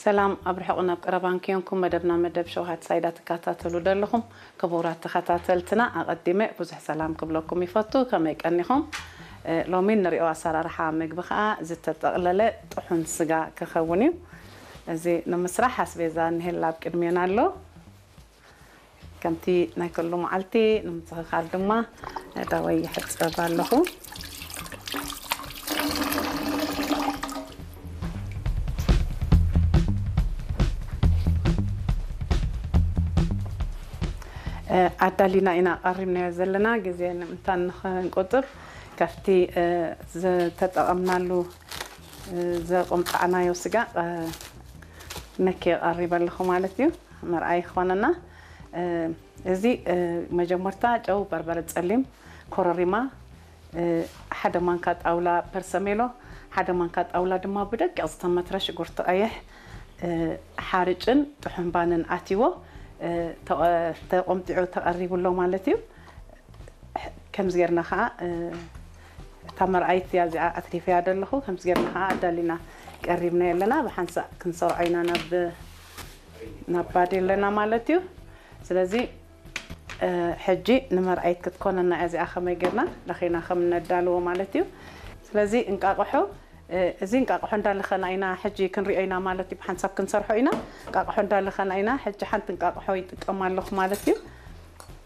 ሰላም ኣብ ርሑቕ ናብ ቀረባን ክዮንኩም መደብና መደብ ሸውሃት ሳይዳ ትከታተሉ ዘለኹም ክቡራት ተኸታተልትና ኣቐዲመ ብዙሕ ሰላም ክብለኩም ይፈቱ። ከመይ ቀኒኹም? እ፣ ሎሚ ንሪኦ ኣሰራርሓ ምግቢ ኸኣ ዝተጠቕለለ ጥሑን ስጋ ክኸውን እዩ። እዚ ንምስራሕ ኣስቤዛ እንሄላ ኣብ ቅድሜና ኣሎ። ከምቲ ናይ ኩሉ መዓልቲ ንምትኽኻል ድማ ኣእዳወይ ይሕጸብ ኣለኹ። እ፣ ኣዳሊና ኢና ቀሪብናዮ ዘለና፣ ግዜ ንምንታን ንኽንቁጥብ ካብቲ፣ እ፣ ዝተጠቐምናሉ፣ እ፣ ዘቆምጣዕናዮ ስጋ፣ እ፣ ነኪ ቀሪበ ኣለኹ ማለት እዩ። መርኣይ ክኾነና፣ እ፣ እዚ፣ እ፣ መጀመርታ ጨው፣ በርበረ ጸሊም፣ ኮረሪማ፣ እ፣ ሓደ ማንካ ጣውላ ፐርሰሜሎ፣ ሓደ ማንካ ጣውላ ድማ ብደቂቕ ዝተመትረ ሽጉርቲ ቀይሕ፣ እ፣ ሓርጭን ጥሑምባንን ኣትይዎ፣ እ፣ ተቐ-፣ ተቆምጢዑ ተቐሪቡ ኣሎ ማለት እዩ። ከምዚ ጌርና ኸዓ፣ እ፣ እታ መርኣይት እያ እዚኣ ኣትሪፈያ ዘለኹ። ከምዚ ጌርና ኸዓ ኣዳሊና ቀሪብናዮ ኣለና። ብሓንሳእ ክንሰርዖ ኢና ናብ፣ ናብ ባዴለና ማለት እዩ። ስለዚ፣ እ፣ ሕጂ ንመርኣይት ክትኮነና እያ እዚኣ ከመይ ጌርና ለኺና ከም ነዳልዎ ማለት እዩ። ስለዚ እንቃቕሖ፣ እ፣ እዚ እንቃቕሖ እንዳለኸና ኢና ሕጂ ክንሪኦ ኢና ማለት እዩ። ብሓንሳብ ክንሰርሖ ኢና። እንቃቕሖ እንዳለኸና ኢና። ሕጂ ሓንቲ እንቃቕሖ ይጥቀም ኣለኹ ማለት እዩ።